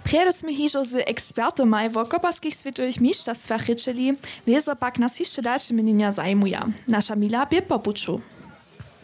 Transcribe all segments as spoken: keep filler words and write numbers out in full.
Prjedy smy hižo z ekspertomaj wo koparskich swětowych mišćerstwach rěčeli, wězo pak nas hišće dalše měnjenja zajimuja. Naša mila bě po puću.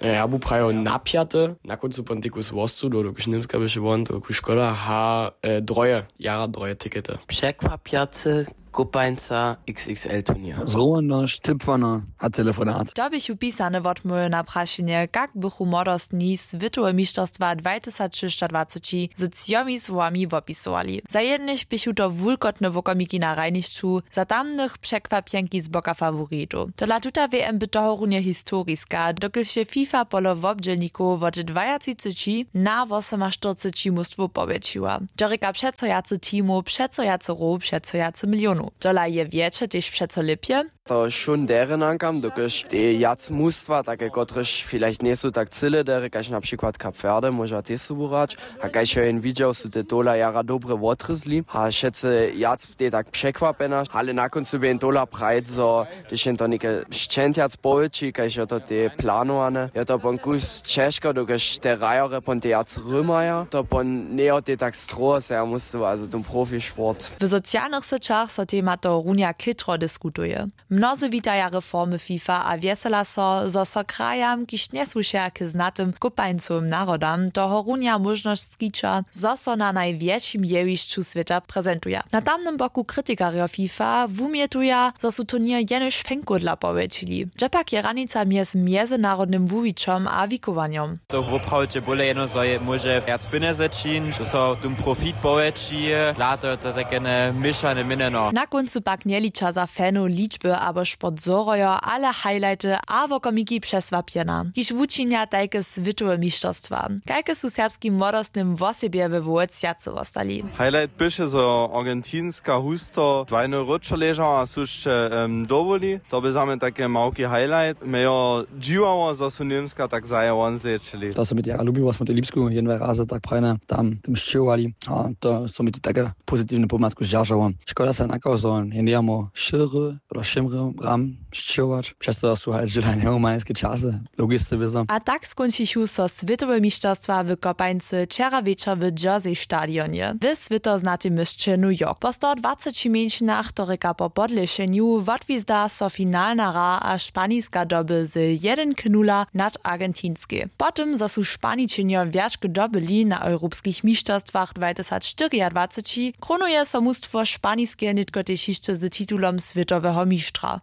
Ja bu prajo na pjate, na kóncu pontikus wostu do dokelž němska běše won to ku škoda ha, droje jara droje tikety. Překwapjacy kopańca xxl turnier. Zhromadnosć, tipwana a telefonat. To běchu pisane wotmołwy na prašenje, kak bychu młodostni swětowe mišćerstwa dwatysacšěsćadwaceći z třomi słowami wopisowali. Za jednych běchu to wulkotne wokomiki na hrajnišću, za tamnych překwapjenki z boka faworitow. Tola tuta wm by tohorunje historiska, dokelž je fifa polo wobdźělnikow wot dwajatřiceći na wosomaštyrceći mustwow powjetšiła. To rěka přeco wjace teamow, přeco wjace row, přeco wjace milionow. Tola je wjetše tež přeco lěpje. To wšón derje nankam, dokelž te wjac mustwa take kotrež vielleicht njejsu tak cyle derje kaž na přikład kap verde móža tež sobu hrać. A kaž jo jen widźał su te tola jara dobre wotrězli a wšetcy wjac bě tak překwapjena, ale na kóncu bě jen tola prajc zo hdyž jen to něke šćentjac powětši kaž jo to te planowane jo to pon kus ćežko dokelž te hrajorje pon te wjac rymaja to pon njejo te tak stroho se ja musy a za ten profisport. W socialnych syćach so tema to runja chětro diskutuje. Mnozy witaja reformy fifa a wjesela so zo so krajam kiž njesłušeja k znatym kopańcowym narodam tohorunja móžnosć skića zo so na najwjetšim jewišću swěta prezentuja. Na tamnym boku kritikarjo fifa wumjetuja zo su turněr jenož fenkódla powjetšili. Dźe pak je hranica mjez mjezynarodnym wuwićom a wikowanjom? To woprawdźe bóle jeno zo je móže wjac pjenjezy čiń zo so tón profit powjetši. Dla to je to takene měšane měnjeno. Na kóncu pak njeliča za fanow ličby abo sport zhorojo ale highlighty a wokomiki přesłapjena kiž wučinja tajke swětowe mišćerstwa. Kajke su serbskim młodostnym wosebje we wołec wjace wostali? Highlight běše zo argentinska husto dwajny róčo ležała a su sće dowoli. To bě za mnje take małki highlight mje jo dźiwało zo su němska tak zaje won zječili. To so mi to jara lubiło smo to lipsku jedne razy tak prajne tam tym sćěhowali a to so mi to take pozitiwne pomłatku zdźeržało. Škoda se nakaw zo njenjamo šěry pola šěmry ram sćěhować přez to su haj dźěla njehumanske časy. Logisce wězo. A tak skónčichu so swětowe mišćerstwa w kopańcy wčera wječor w jersey stadionje w swětoznatej měsće new york po sto dwaceći mjeńšinach to rěka po podlěšenju wotwizda so finalna hra a španiska doby z jedyn k nula nad argentinskej. Po tym zo su španičenjo wjačk dobyli na europskich mišćerstwach dwatysacštyriadwaceći krunuje so mustwo španiske nětko tež hišće z titulom swětoweho mištra.